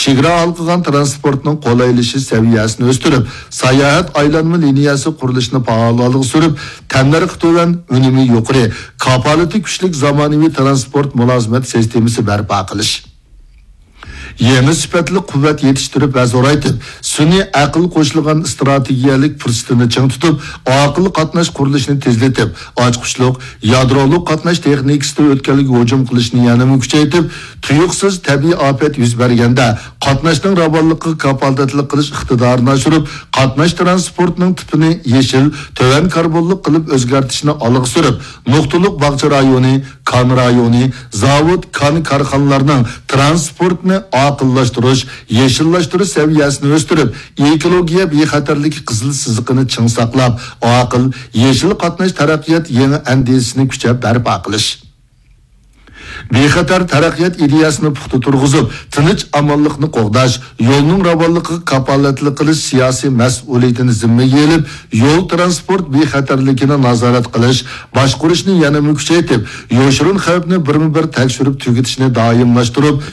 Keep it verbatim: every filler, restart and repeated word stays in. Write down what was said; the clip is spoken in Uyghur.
چېگرا ھالقىغان تىرانسپورتنىڭ قولايلىشىش سەۋىيەسىنى ئۆستۈرۈپ، ساياھەت ئايلانما لىنىيەسى قۇرۇلۇشىنى پائال ئالغا سۈرۈپ، تەننەرخى تۆۋەن، ئۈنۈمى يۇقىرى، كاپالىتى كۈچلۈك زامانىۋى تىرانسپورت مۇلازىمەت سىستېمىسى بەرپا قىلىش. يېڭى سۈپەتلىك قۇۋۋەت يېتىشتۈرۈپ ۋە زورايتىپ، سۈنئىي ئەقىل قوشۇلغان ئىستراتېگىيەلىك پۇرسىتىنى چىڭ تۇتۇپ، ئاقىل قاتناش قۇرۇلۇشىنى تېزلىتىپ، ئاچقۇچلۇق، يادرولۇق قاتناش تېخنىكىسىدا ئۆتكەلگە ھۇجۇم قىلىشنى يەنىمۇ كۈچەيتىپ، تۇيۇقسىز تەبىئىي ئاپەت يۈز بەرگەندە قاتناشنىڭ راۋانلىقىغا كاپالەتلىك قىلىش ئىقتىدارىنى ئاشۇرۇپ، قاتناش تىرانسپورتىنىڭ تىپىنى يېشىل، تۆۋەن كاربونلۇق قىلىپ ئۆزگەرتىشنى ئالغا سۈرۈپ، نۇقتىلىق باغچە رايونى، كان رايونى، زاۋۇت، كان كارخانىلارنىڭ تىرانسپورتنى ئاقىللاشتۇرۇش، يېشىللاشتۇرۇش سەۋىيەسىنى ئۆستۈرۈپ، ئېكولوگىيە بىخەتەرلىكى قىزىل سىزىقىنى چىڭ ساقلاپ، ئاقىل، يېشىل قاتناش تەرەققىيات يېڭى ئەندىزىسىنى كۈچەپ بەرپا قىلىش. بىخەتەر تەرەققىيات ئىدىيەسىنى پۇختا تۇرغۇزۇپ، تىنچ ئامانلىقنى قوغداش، يولنىڭ راۋانلىقىغا كاپالەتلىك قىلىش سىياسىي مەسئۇلىيىتىنى زىممىگە ئېلىپ، يول تىرانسپورت بىخەتەرلىكىنى نازارەت قىلىش، باشقۇرۇشنى يەنىمۇ كۈچەيتىپ، يوشۇرۇن خەۋپنى بىرمۇبىر تەكشۈرۈپ تۈگىتىشنى دائىملاشتۇرۇپ،